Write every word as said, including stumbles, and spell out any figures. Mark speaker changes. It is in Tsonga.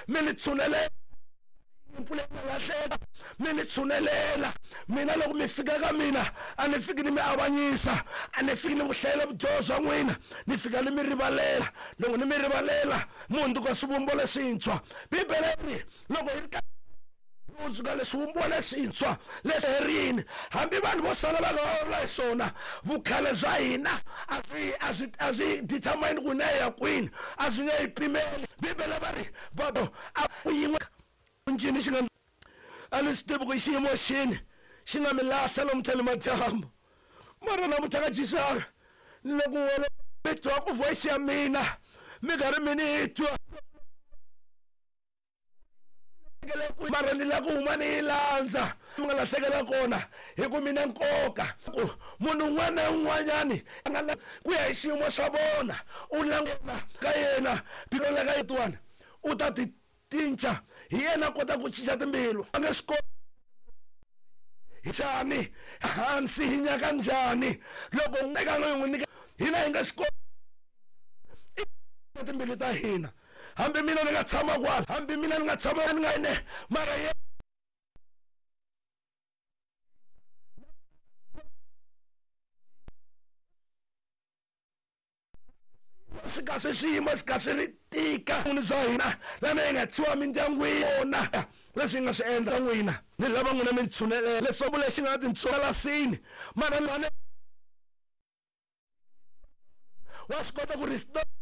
Speaker 1: Mi ni tshunelela mpfula yi nga lahleka mi ni tshunelela mina loko mi fika ka mina a ni fiki ni mi avanyisa a ni fiki ni ku hlayela vudyoho bya n'wina ni fika ni mi rivalela loko ni mi rivalela mi hundzuka swivumbo leswintshwa bibele ri loko hi ri ka hundzuka leswivumbiwa leswintshwa leswi herini hambi vanhu vo sala va nga vulavula hi swona vukhale bya hina a swi a swi a swi determine ku na ya kwini a swi nge yi pimeli bibele va ri va a ku yin'we ncini xi nga a ni swi tivi ku xiyimo xini xi nga mi lahla lomuntlha ni madyambu mara namuntlha ka jisara ni le ku n'wele mi twa ku voice ya mina mi karhi mi ni twa mara ni lava ku huma ni yi landza mi nga lahlekela kona hi ku mina nkoka ku munhu un'wana na un'wanyani a nga ku ya hi xiyimo xa vona u languta ka yena biro la ka yetiwana u ta ti cinca hi yena a kota ku cinca timbilu a nge swi koti njhani hansi hi nyaka njhani loko eka n'wi n'wi nyika hina hi nga swi koti timbilu ta hina hambi mina ni nga tshama kwala hambi mina ni nga tshama ni nga ene mara ye swi ka swi xiyimo xi ka swi ri tika ni bya hina lama hi nga tshiwa mindyangwini yona leswi hi nga swi endla n'wina ni lava n'wina mi ntshunelela leswaku lexi nga na tintswala mara wa swi kota ku restore